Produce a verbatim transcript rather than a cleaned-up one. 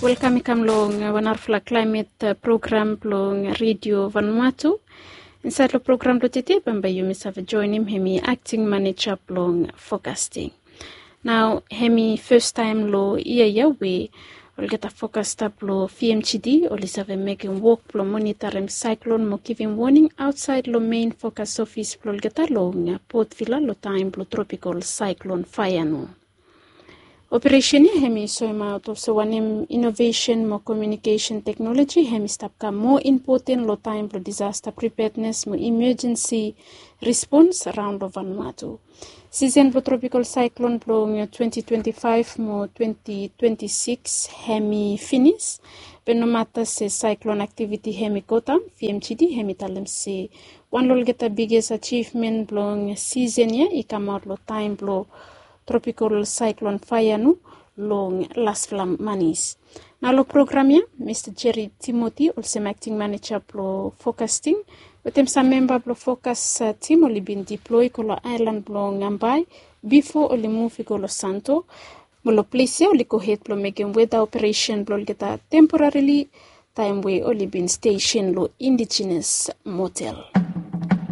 Welkam i kam long wan narafala klaimet program blong redio Vanuatu. Insaed long program blong tede bambae yumi save joenem hem i akting maneja blong fokasting. Nao hem i fastaem long yia ya we olgeta fokasta blong V M G D oli save mekem wok blong monitarem saeklon mo givim woning aotsaed long mein fokas ofis blong olgeta long Port Vila long taem blong tropikol saeklon Faeanu. Operesen ya hem i soemaot olsem wanem inovesen mo komiunikesen teknoloji hem i stap kam moa impoten long taem blong disasta pripednes mo imejensi rispons raon long Vanuatu. Sisen blong tropikol saeklon blong twenty twenty-five mo twenty twenty-six hem i finis. Be nomata se saeklon aktiviti hem i godaon, V M G D hem i talem se wan long olgeta biges ajivmen blong sisen ya i kamaot long taem blong tropikol saeklon Faeanu long lasfala manis. Nao long program ya Mista Jerry Timothy olsem akting maneja blong fokasting wetem sam memba blong fokas tim oli bin diploe i go long aelan blong Ambae bifo oli muv i go long Santo. Mo long ples ya oli gohed blong mekem weda operesen blong olgeta temporarili taem we oli bin stesen long Indigenous Motel.